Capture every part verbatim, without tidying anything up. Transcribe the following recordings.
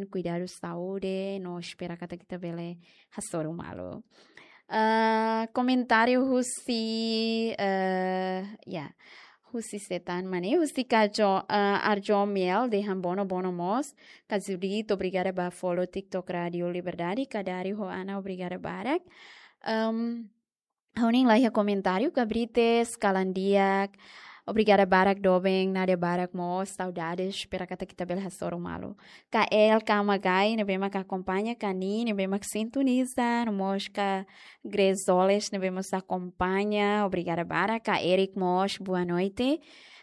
kuidadu saúde, no espera katak ita bele hasoru malu. Ah, komentáriu husi, eh, ya, husi Setan Mane, husi Kajo, eh, Arjo Miel, dehan bono bono mós, ka Judith, obrigada ba follow TikTok Rádio Liberdade, ka Dari ho Ana, obrigada barak. Em, ha'u-nia laiha komentáriu, Gabrites, kalan di'ak, obrigada barak doben, Nadia barak mós, saudades, espera katak ita bele hasoru malu. Ka El Kamagai, ne'ebé mak akompaña, ka Ni, ne'ebé mak sintoniza, no mós ka Grezoles, ne'ebé mós akompaña, obrigada barak, ka Eric mós, boa noite.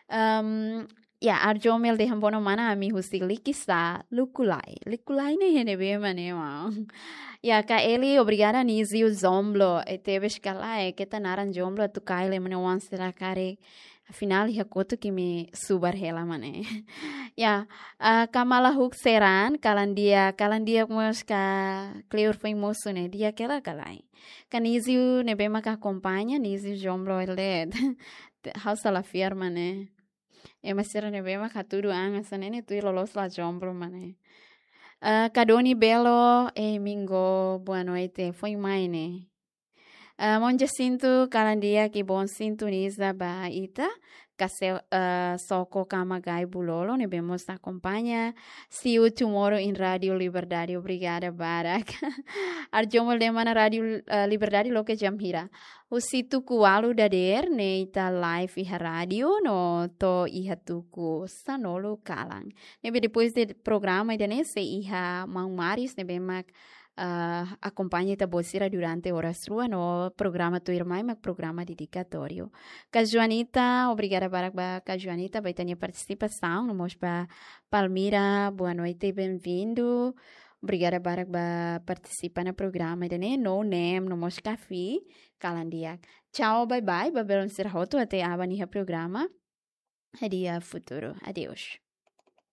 Em, ya, Arjo Miel dehan bono mana, ami husi Likisá, Lukulai. Lukulai ne'e iha ne'ebé mak ne'e, wow. Ya, ka Eli, obrigada, Nizio Jomblo, e tebes ka lae, keta naran Jomblo, atu kail ema nia oan sira karik. Afinál, iha kotuk imi subar hela mak ne'e. Ya, ah, Kamala Huk Seran, kalan di'ak, kalan di'ak mós ka kleur foin mosu ne'e, di'ak hela ka lae. Ka Nizio ne'ebé mak akompaña, Nizio Jomblo elet. Ha'u sala fiar mak ne'e. Ema sira ne'ebé mak hatudu an hanesan ne'e ne'e tuir loloos la Jomblo mak ne'e. Ah, ka Doni Belo, eh, Mingo, boa noite, foin mai ne'e. Ah, Maun Jacinto, kalan di'ak, kibon sintoniza ba ita, ka Se-, ah, Soko Kamagai Bulolo, ne'ebé mós akompaña, see you tomorrow in Rádio Liberdade, obrigada barak. Arjo Miel dehan mana Rádio, ah, Liberdade loke jam hira. Husi tuku ualu dadeer, ne'e ita live iha rádiu, no to'o iha tuku sanulu kalan. Ne'ebé depois de programa ida-ne'e sei iha Maun Maris, ne'ebé mak, ah, akompaña ita-boot sira durante oras rua, no programa tuirmai mak programa dedikatóriu. Ka Joanita, obrigada barak ba ka Joanita, ba ita-nia partisipasaun, no mós ba Palmira, boa noite, bem-vindo. Obrigada barak ba partisipa iha programa ida-ne'e, no Nem, no mós Kafi, kalan di'ak. Tchau, bye bye, ba belun sira hotu, até aban iha programa. Hadi'a Futuru. Adeus.